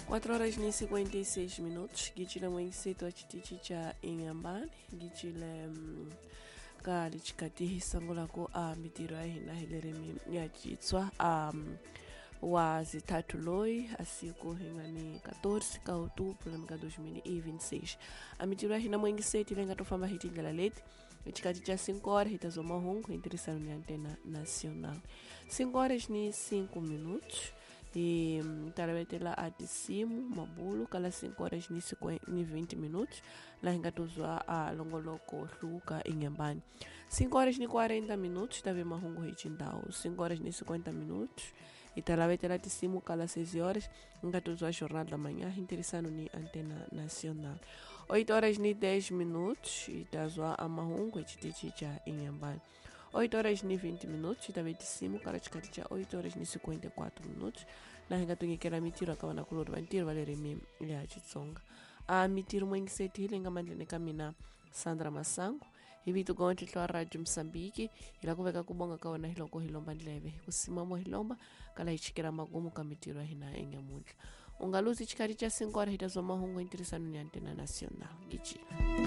4 horas e 56 minutos gicile mwengiseto wa chitichi cha Inhambane gicile ka lichikati hisangulako a mitiro ya hina hilerimi ya chitswa wa zithathu loyi asiku hi nga ni 14 ka outubro lembe ka 2026. A mitiro ya hina mwengiseti leyi nga to famba hi tindlela leti xikati xa 5 horas hi ta zwa mahungu hi ntirhisano ni Antena Nacional. 5 horas ni 5 minutos hi talavetela a tisimu mabulu kala 5 horas ni 20 minutos laha hi nga to zwa a longoloko hluka Inhambane. 5 horas ni 40 minutos ta ve mahungu hi xindhawu. 5 horas ni 50 minutos hi talavetela tisimu kala 6 horas hi nga to zwa Jornal da Manhã hi ntirhisano ni Antena Nacional. 8 horas ni 10 minutos hi ta zwa a mahungu hi xitichi xa Inhambane. 8 horas ni 20 minutos hi ta ve tisimu kala xikati xa 8 horas ni 54 minutos laha hi nga tunyikela mitiro ka vanakulori va ntirho va le ririmi ya Xitsonga. A mitiro mwengiseti hi leyi nga mandleni ka mina Sandra Masango hi vito gontlhlo wa Radio Mozambique. Hi lava ku veka ku bonga ka wena hi loko hi lomba ndleve hi ku simamo hi lomba kala hi chikela magumu ka mitiro ya hina enyamuntlha. U nga luzi xikati xa 5 horas hi ta zwa mahungu hi ntirhisano ni Antena Nacional. Gijila.